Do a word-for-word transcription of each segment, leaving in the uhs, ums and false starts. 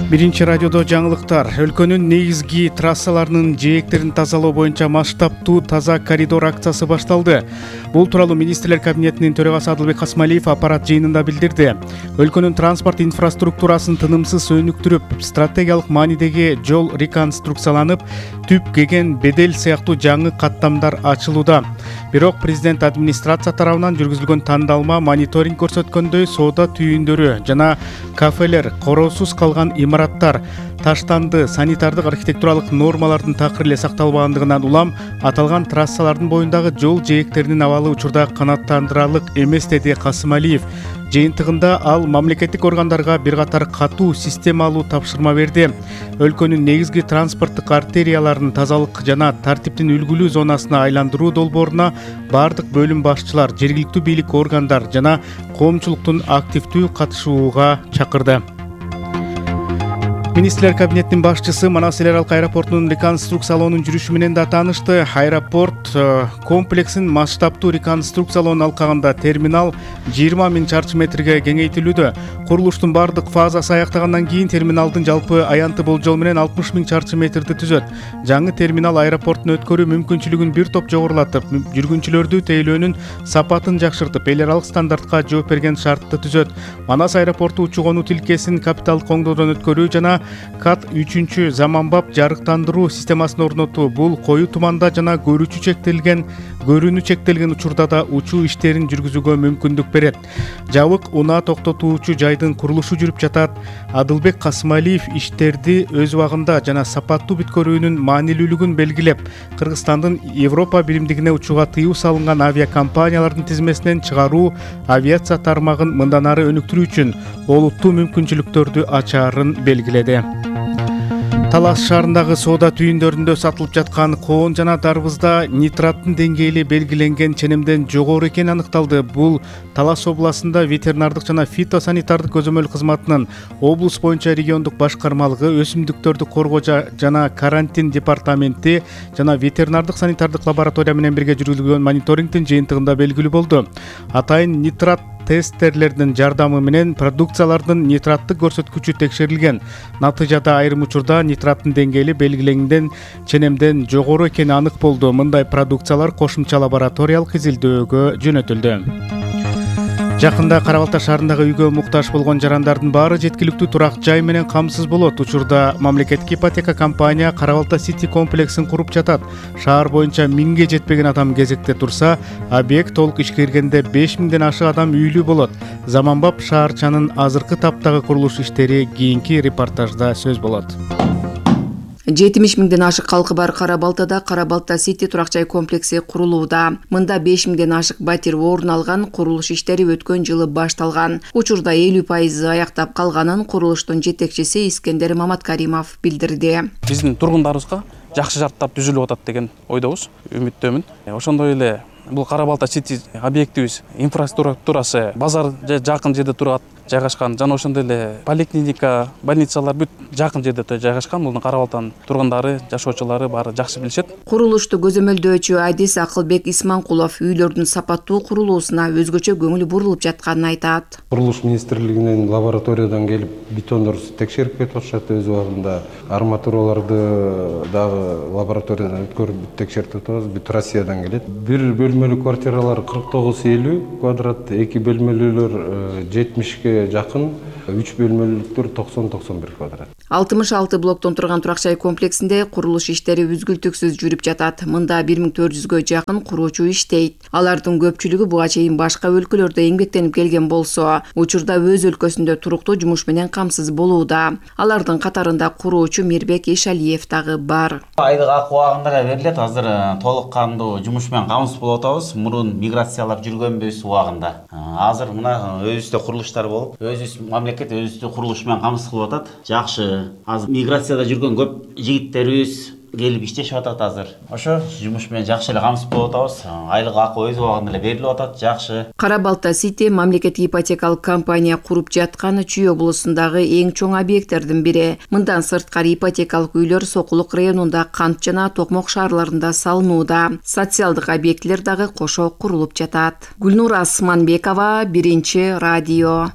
Биринчи радиодо жаңылыктар. Өлкөнүн негизги трассаларынын жээктерин тазалоо боюнча масштабтуу таза коридор акциясы башталды. Бул тууралуу министрлер кабинетинин төрагасы Адылбек Касмалиев аппарат жыйынында билдирди. Өлкөнүн транспорт инфраструктурасын тынымсыз өнүктүрүп, стратегиялык маанидеги жол реконструкцияланып, түп кеген бедел сыяктуу жаңы каттамдар ачылууда. Бирок президент администрация тарабынан жүргүзүлгөн тандалма мониторинг көрсөткөндөй соода түйүндөрү жана кафелер, короосуз калган имараттар, таштанды, санитардык архитектуралык нормалардын такыр эле сакталбагандыгынан улам аталган трассалардын боюндагы жол жээктеринин абалы учурда канааттандырарлык эмес, деди Касымалиев. Жыйынтыгында ал мамлекеттик органдарга бир катар катуу системалуу тапшырма берди. Өлкөнүн негизги транспорттук артерияларын тазалык жана тартиптин үлгүлүү зонасына айландыруу долбооруна бардык бөлүм башчылар, жергиликтүү бийлик органдар жана коомчулуктун активдүү катышууга чакырды. Министрлер кабинетинин башчысы Манас эл аралык аэропортунун реконструкциялоонун жүрүшү менен да таанышты. Аэропорт комплексин масштабтуу реконструкциялоонун алкагында терминал жыйырма миң чарчы метрге кеңейтилүүдө. Курулуштун бардык фазасы аяктагандан кийин терминалдын жалпы аянты болжол менен алтымыш миң чарчы метрди түзөт. Жаңы терминал аэропорттун өткөрүү мүмкүнчүлүгүн бир топ жогорулатып, жүргүнчүлөрдү тейлөөнүн сапатын жакшыртып, эл аралык стандартка жооп берген шартты түзөт. Манас аэропорту учуу-конуу тилкесин капиталдык оңдоодон өткөрүү жана кат үчүнчү заманбап жарыктандыруу системасын орнотуу. Бул коюу туманда жана көрүүчү чектелген көрүүнү чектелген учурда да учуу иштерин жүргүзүүгө мүмкүндүк берет. Жабык унаа токтотуучу жайдын курулушу жүрүп жатат. Адылбек Касымалиев иштерди өз убагында жана сапаттуу бүткөрүүнүн маанилүүлүгүн белгилеп, Кыргызстандын Европа биримдигине учууга тыюу салынган авиакомпаниялардын тизмесинен чыгаруу авиация тармагын мындан ары өнүктүрүү үчүн олуттуу мүмкүнчүлүктөрдү ачаарын белгиледи. Талас шаарындагы соода түйүндөрүндө сатылып жаткан коон жана дарбызда нитраттын деңгээли белгиленген ченемден жогору экени аныкталды. Бул Талас областында ветеринардык жана фитосанитардык көзөмөл кызматынын облус боюнча региондук башкармалыгы, өсүмдүктөрдү коргоо жана карантин департаменти жана ветеринардык санитардык лаборатория менен бирге жүргүзүлгөн мониторингдин жыйынтыгында белгилүү болду. Атайын нитрат тесттерлердин жардамы менен продукциялардын нитраттык көрсөткүчү текшерилген. Натыйжада айрым учурда нитраттын деңгээли белгиленген ченемден жогору экени анык болду. Мындай продукциялар кошумча лабораториялык изилдөөгө жөнөтүлдү. Жакында Кара Балта шаарындагы үйгө муктаж болгон жарандардын баары жеткиликтүү турак жай менен камсыз болот. Учурда мамлекеттик ипотека компания Кара Балта Сити комплексин куруп жатат. Шаар боюнча миңге жетпеген адам кезекте турса, объект толук ишке киргенде беш миңден ашык адам үйлүү болот. Заманбап шаарчанын азыркы таптагы курулуш иштери кийинки репортажда сөз болот. жетимиш миңден ашык калкы бар Кара Балтада Кара Балта Сити турак жай комплекси курулууда. Мында беш миңден ашык батир орун алган. Курулуш иштери өткөн жылы башталган. Учурда элүү пайызы аяктап калганын курулуштун жетекчиси Искендер Маматкаримов билдирди. Биздин тургундарыбызга жакшы шарттар түзүлүп атат деген ойдобуз, үмүттөмүн. Ошондой эле бул Кара Балта Сити объектибиз инфраструктурасы базар жакын жерде турат, жайгашкан жана ошондой эле поликлиника, больницалар бүт жакын жерде жайгашкан. Муну Кара Балтанын тургундары, жашоочулары баары жакшы билишет. Курулушту көзөмөлдөөчү Адис Акылбек Исманкулов үйлөрдүн сапаттуу курулуусуна өзгөчө көңүл бурулуп жатканын айтат. Курулуш министрлигинин лабораториядан келип бетондорду текшерип кетип атышат. Өз убагында арматураларды дагы лабораториядан өткөрүп текшертип атабыз. Бүт Россиядан келет. Бир бөлмөлүү квартиралар кырк тогуз элүү квадрат, эки бөлмөлүүлөр жетимишке жакын, үч бөлмөлүүлүктөр токсон токсон бир квадрат. алтымыш алты блоктон турган турак жай комплексинде курулуш иштери үзгүлтүксүз жүрүп жатат. Мында бир миң төрт жүзгө жакын куруучу иштейт. Алардын көпчүлүгү буга чейин башка өлкөлөрдө эмгектенип келген болсо, учурда өз өлкөсүндө туруктуу жумуш менен камсыз болууда. Алардын катарында куруучу Мирбек Ишалиев дагы бар. Айлык акы убагында да берилет. Азыр толук кандуу жумуш менен камсыз болуп атабыз. Мурун миграциялап жүргөнбүз убагында. Азыр мына өзүбүздө курулуштар болуп, өзүбүз мамлекет өзүбүздө курулуш менен камсыз кылып атат. Жакшы. Азыр миграцияда жүргөн көп жигиттерибиз келип иштешип атат азыр. Ошо жумуш менен жакшы эле камсыз болуп атабыз. Айлык акы өз убагында эле берилип атат, жакшы. Кара Балта Сити мамлекеттик ипотекалык компания куруп жаткан Чүй облусундагы эң чоң объекттердин бири. Мындан сырткары ипотекалык үйлөр Сокулук районунда, Кант жана Токмок шаарларында салынууда. Социалдык объектилер дагы кошо курулуп жатат. Гүлнура Асманбекова, Биринчи радио.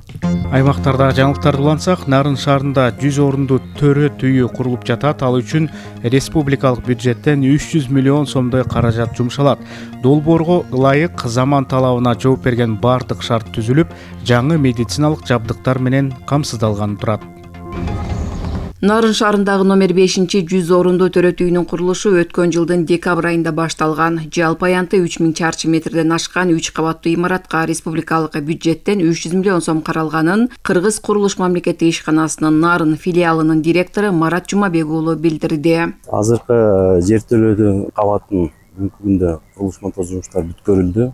Аймактарда жаңылыктарды улантсак, Нарын шаарында жүз орунду төрөт үйү курулуп жатат. Ал үчүн республикалык бюджеттен үч жүз миллион сомдой каражат жумшалат. Долбоорго ылайык заман талабына жооп берген бардык шарт түзүлүп, жаңы медициналык жабдыктар менен камсыздалганы турат. Нарын шаарындагы номер бешинчи жүз орунду төрөт үйүнүн курулушу өткөн жылдын декабрь айында башталган. Жалпы аянты үч миң чарчы метрден ашкан үч кабаттуу имаратка республикалык бюджеттен үч жүз миллион сом каралганын Кыргыз курулуш мамлекеттик ишканасынын Нарын филиалынын директору Марат Жумабек уулу билдирди. Азыркы жертөлөөдүн кабатын бүгүнкү күндө курулуш монтаж жумуштары бүткөрүлдү.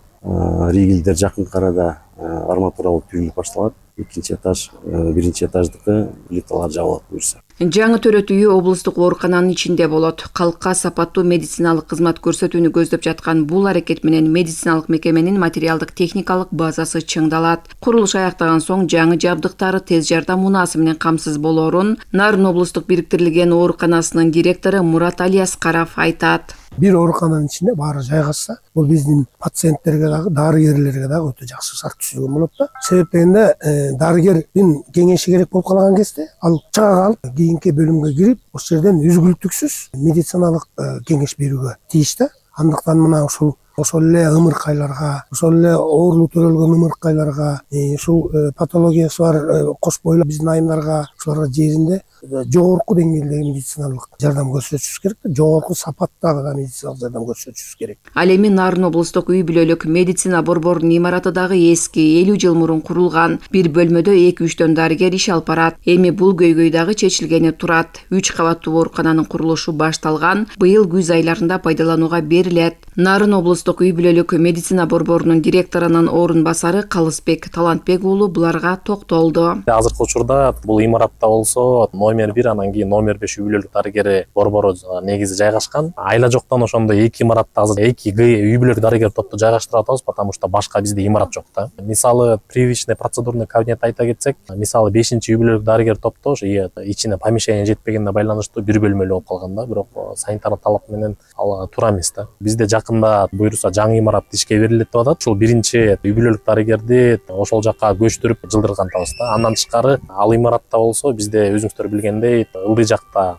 Ригелдер жакынкы арада арматуралык түйүлүп башталат. Экинчи этаж, биринчи этаждыкы плиталар жабылат буюрса. Жаңы төрөт үйү облустук оорукананын ичинде болот. Калкка сапаттуу медициналык кызмат көрсөтүүнү көздөп жаткан бул аракет менен медициналык мекеменин материалдык техникалык базасы чыңдалат. Курулуш аяктаган соң жаңы жабдыктары тез жардам унаасы менен камсыз болоорун Нарын облустук бириктирилген ооруканасынын директору Мурат Алияскаров айтат. Бир оорукананын ичинде баары жайгашса, бул биздин пациенттерге дагы, дарыгерлерге дагы өтө жакшы шарт түзүлгөн болот да. Себеп дегенде дарыгердин кеңеши керек болуп калган кезде ал чыга калып, кийинки бөлүмгө кирип, ошол жерден үзгүлтүксүз медициналык кеңеш берүүгө тийиш да. Андыктан мына ушул ошол эле ымыркайларга, ошол эле оорулуу төрөлгөн ымыркайларга, ушул патологиясы бар кош бойлуу биздин айымдарга, ушуларга жеринде жогорку деңгээлдеги медициналык жардам көрсөтүшүбүз керек, жогорку сапаттагы медициналык жардам көрсөтүшүбүз керек. Ал эми Нарын облустук үй бүлөлүк медицина борборунун имараты дагы эски, элүү жыл мурун курулган. Бир бөлмөдө эки-үчтөн дарыгер иш алып барат. Эми бул көйгөй дагы чечилгени турат. үч кабаттуу оорукананын курулушу башталган, быйыл күз айларында пайдаланууга берилет. Нарын облустук үй бүлөлүк медицина борборунун директорунун орун басары Калысбек Талантбек уулу буларга токтолду. Азыркы учурда бул имаратта болсо номер бир, анан кийин номер беш үй бүлөлүк дарыгери борбору негизи жайгашкан. Айла жоктон ошондо эки имаратта азыр эки үй бүлөлүк дарыгер топту жайгаштырып атабыз, потому что башка бизде имарат жок да. Мисалы привычный процедурный кабинет айта кетсек, мисалы бешинчи үй бүлөлүк дарыгер топто ошо ичине помещение жетпегенине байланыштуу бир бөлмөлүү болуп калган да, бирок санитарлык талап менен ал туура эмес да. Бизде жакында буюрса жаңы имарат ишке берилет деп атат. Ушул биринчи үй бүлөлүк дарыгерди ошол жакка көчтүрүп жылдырган атабыз да. Андан тышкары ал имаратта болсо бизде өзүңүздөр билгендей ылдый жакта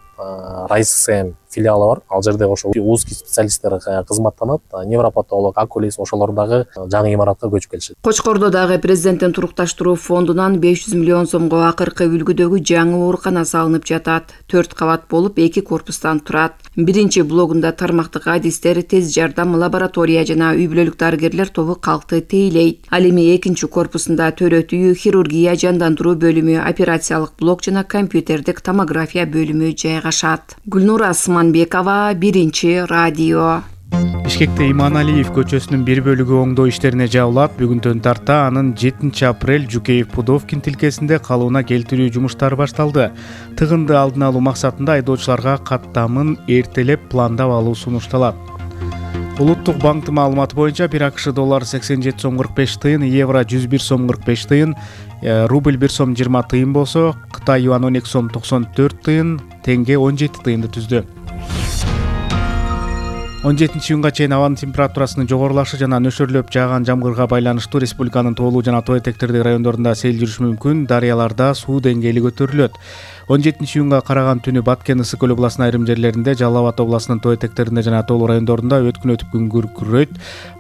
Райсем филиалы бар. Ал жерде ошо узкий специалисттер кызматтанат, невропатолог, окулист ошолор дагы жаңы имаратка көчүп келишет. Кочкордо дагы президенттин турукташтыруу фондунан беш жүз миллион сомго акыркы үлгүдөгү жаңы оорукана салынып жатат. төрт кабат болуп, эки корпустан турат. Биринчи блогунда тармактык адистер, тез жардам лаборатория жана үй бүлөлүк дарыгерлер тобу калкты тейлейт. Ал эми экинчи корпусунда төрөт үйү, хирургия, жандандыруу бөлүмү, операциялык блок жана компьютердик томография бөлүмү жайгашат. Гүлнура Асманбекова, Биринчи радио. Бишкекте Иманалиев көчөсүнүн бир бөлүгү оңдоо иштерине жабылат. Бүгүндөн тарта анын жетинчи апрель Жукеев-Пудовкин тилкесинде калыбына келтирүү жумуштары башталды. Тыгынды алдын алуу максатында айдоочуларга каттамын эртелеп пландап алуу сунушталат. Улуттук банктын маалыматы боюнча бир АКШ доллары сексен жети сом кырк беш тыйын, евро жүз бир сом кырк беш тыйын, рубль бир сом жыйырма тыйын болсо, Кытай юан он эки сом токсон төрт тыйын, теңге он жети тыйынды түздү. он жетинчи июнга чейин абанын температурасынын жогорулашы жана нөшөрлөп жааган жамгырга байланыштуу республиканын тоолуу жана тоо этектердеги райондорунда сел жүрүшү мүмкүн, дарыяларда суу деңгээли көтөрүлөт. он жетинчи июнга караган түнү Баткен, Ысык көл областынын айрым жерлеринде, Жалал Абад областынын тоо этектеринде жана тоолуу райондорунда өткүн өтүп күн күркүрөйт.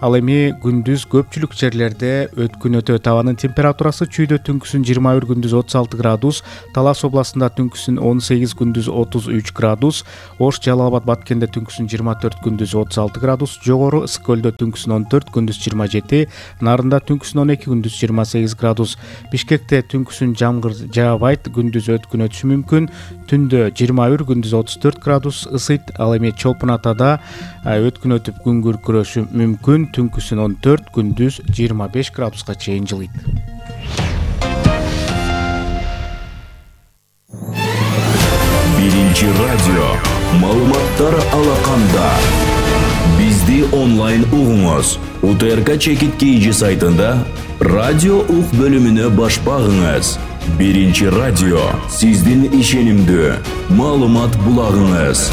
Ал эми күндүз көпчүлүк жерлерде өткүн өтөт. Абанын температурасы Чүйдө түнкүсүн жыйырма бир, күндүз отуз алты градус, Талас областында түнкүсүн он сегиз, күндүз отуз үч градус, Ош, Жалал Абад, Баткенде түнкүсүн жыйырма төрт, күндүз отуз алты градус, жогору Ысык көлдө түнкүсүн он төрт, күндүз жыйырма жети, Нарында түнкүсүн он эки, күндүз жыйырма сегиз градус. Бишкекте түнкүсүн жамгыр жаабайт, күндүз өткүн өтүшү мүмкүн, түндө жыйырма бир, күндүз отуз төрт градус ысыйт. Ал эми Чолпун Атада өткүн өтүп күн күркүрөшү мүмкүн, түнкүсүн он төрт, күндүз жыйырма беш градуска чейин жылыйт. Биринчи радио Маалыматтар алаканда. Бизди онлайн угуңуз. УТРК Чекит Кейжи сайтында радио ук бөлүмүнө баш багыңыз. Биринчи радио сиздин ишенимдүү маалымат булагыңыз.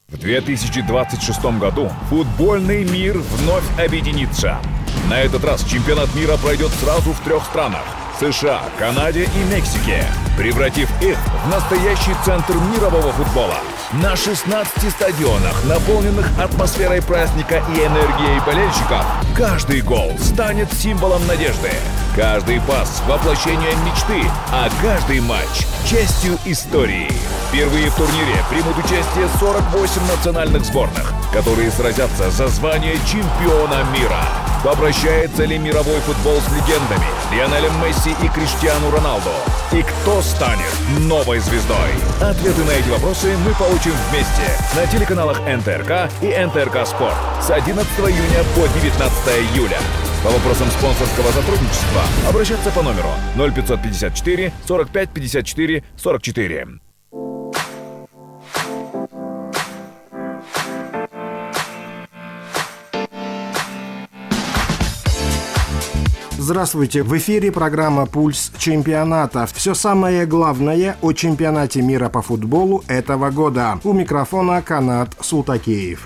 В две тысячи двадцать шестом году футбольный мир вновь объединится. На этот раз чемпионат мира пройдет сразу в трех странах – США, Канаде и Мексике, превратив их в настоящий центр мирового футбола. На шестнадцати стадионах, наполненных атмосферой праздника и энергией болельщиков, каждый гол станет символом надежды. Каждый пас – воплощением мечты, а каждый матч – частью истории. Впервые в турнире примут участие сорок восемь национальных сборных, которые сразятся за звание чемпиона мира. Попрощается ли мировой футбол с легендами Лионелем Месси и Криштиану Роналду? И кто станет новой звездой? Ответы на эти вопросы мы получим вместе на телеканалах эн тэ эр ка и эн тэ эр ка Спорт с одиннадцатого июня по девятнадцатое июля. По вопросам спонсорского сотрудничества обращаться по номеру ноль пятьсот пятьдесят четыре сорок пять пятьдесят четыре сорок четыре. Здравствуйте! В эфире программа «Пульс чемпионата». Все самое главное о чемпионате мира по футболу этого года. У микрофона Канат Султакеев.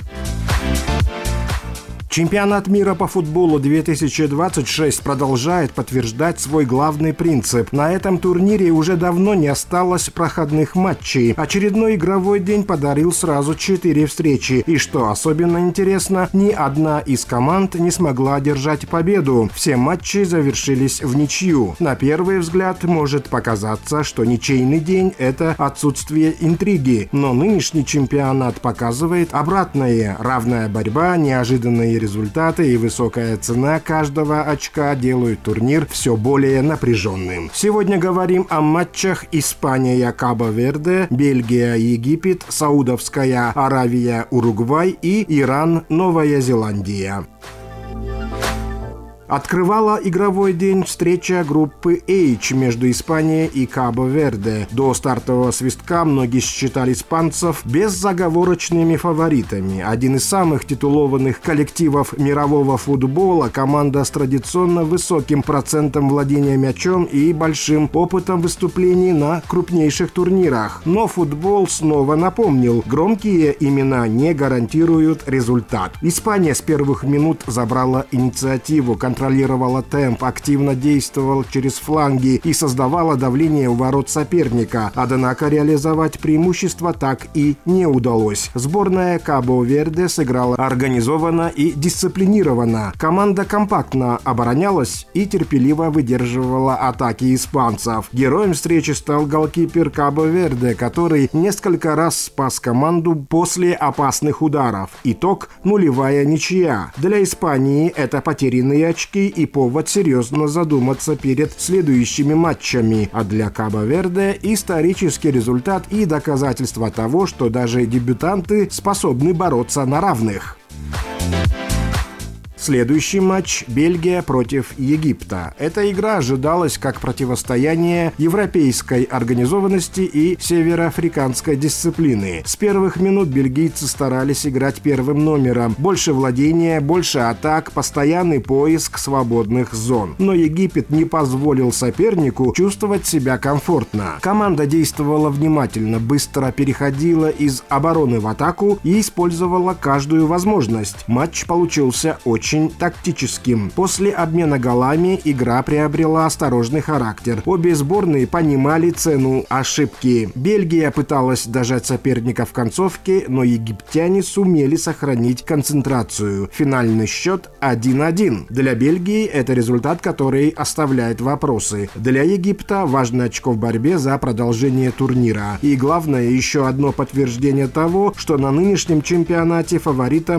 Чемпионат мира по футболу две тысячи двадцать шесть продолжает подтверждать свой главный принцип. На этом турнире уже давно не осталось проходных матчей. Очередной игровой день подарил сразу четыре встречи. И что особенно интересно, ни одна из команд не смогла одержать победу. Все матчи завершились в ничью. На первый взгляд может показаться, что ничейный день – это отсутствие интриги. Но нынешний чемпионат показывает обратное. Равная борьба, неожиданные результаты и высокая цена каждого очка делают турнир все более напряженным. Сегодня говорим о матчах Испания-Кабо-Верде, Бельгия-Египет, Саудовская Аравия-Уругвай и Иран-Новая Зеландия. Открывала игровой день встреча группы H между Испанией и Кабо-Верде. До стартового свистка многие считали испанцев безоговорочными фаворитами. Один из самых титулованных коллективов мирового футбола, команда с традиционно высоким процентом владения мячом и большим опытом выступлений на крупнейших турнирах. Но футбол снова напомнил, громкие имена не гарантируют результат. Испания с первых минут забрала инициативу, контролировала темп, активно действовала через фланги и создавала давление у ворот соперника. Однако реализовать преимущество так и не удалось. Сборная Кабо-Верде сыграла организованно и дисциплинированно. Команда компактно оборонялась и терпеливо выдерживала атаки испанцев. Героем встречи стал голкипер Кабо-Верде, который несколько раз спас команду после опасных ударов. Итог – нулевая ничья. Для Испании это потерянные очки и повод серьезно задуматься перед следующими матчами. А для Кабо-Верде исторический результат и доказательство того, что даже дебютанты способны бороться на равных. Следующий матч – Бельгия против Египта. Эта игра ожидалась как противостояние европейской организованности и североафриканской дисциплины. С первых минут бельгийцы старались играть первым номером. Больше владения, больше атак, постоянный поиск свободных зон. Но Египет не позволил сопернику чувствовать себя комфортно. Команда действовала внимательно, быстро переходила из обороны в атаку и использовала каждую возможность. Матч получился очень очень тактическим. После обмена голами игра приобрела осторожный характер. Обе сборные понимали цену ошибки. Бельгия пыталась дожать соперника в концовке, но египтяне сумели сохранить концентрацию. Финальный счет один один. Для Бельгии это результат, который оставляет вопросы. Для Египта важно очко в борьбе за продолжение турнира. И главное, еще одно подтверждение того, что на нынешнем чемпионате фаворитом